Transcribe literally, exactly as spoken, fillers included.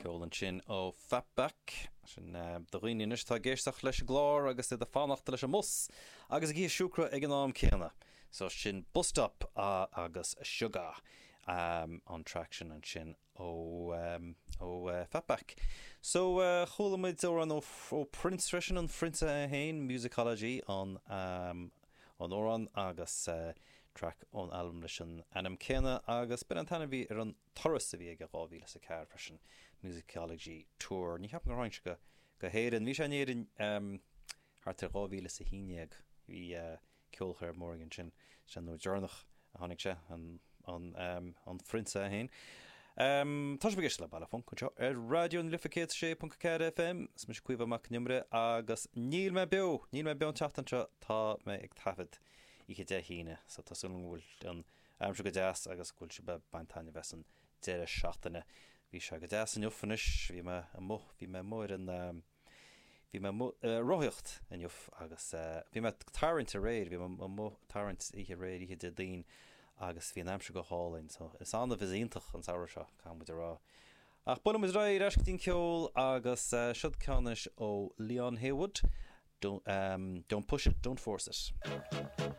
Ceol ansin ó Fatback sin uh, do dhaoine anois atá ag éisteacht leis an gclár agus iad ag fanacht leis an mbus agus ag ithe siúcra ag an am céanna. So sin Bus Stop uh, agus Sugar um, an track sin ansin ó um, ó uh, Fatback. So uh, chuala muid amhrán ó, ó Prince freisin an Phrionsa é féin Musicology an um, an amhrán agus uh, track ón album leis an ainm céanna agus b'in an t-ainm a bhí ar an turas a bhí aige dhá mhíle is a ceathair freisin Musicology Tour. Ní cheapaim gur tháinig sé go go hÉirinn bhí sé in Éirinn um, thart ar dhá mhíle is a haon déag bhí uh, ceolchoirm mór ansin sin an uair dheireanach a tháinig sé an an um, an Phrionsa é féin. Um, tá sibh ag éisteacht le Baile Func anseo ar Raidió na Life céad sé ponc ceathair FM is mise Caoimhe Mac Con Iomaire agus níl mé beo, níl mé beo an tseachtain seo tá mé ag taifead oíche Dé hAoine, so tá súil agam go bhfuil an aimsir go deas agus go bhfuil sibh ag baint taitneamh as an deireadh seachtaine. Bhí sé go deas inniu anois, bhí mé amuigh, bhí mé amuigh ar an um, bhí mé uh, rothaíocht inniu agus uh, bhí mé tarraingt aréir, bhí mé amuigh tarraingt oíche aréir oíche Déardaoin agus bhí an aimsir go hálainn, so is annamh is iontach an samhradh seo caithfidh muid a rá. Ach bunaim rá eis dtín ceol agus uh, siod ceann anois ó Leon Haywood, don't, um, don't push it, don't force it.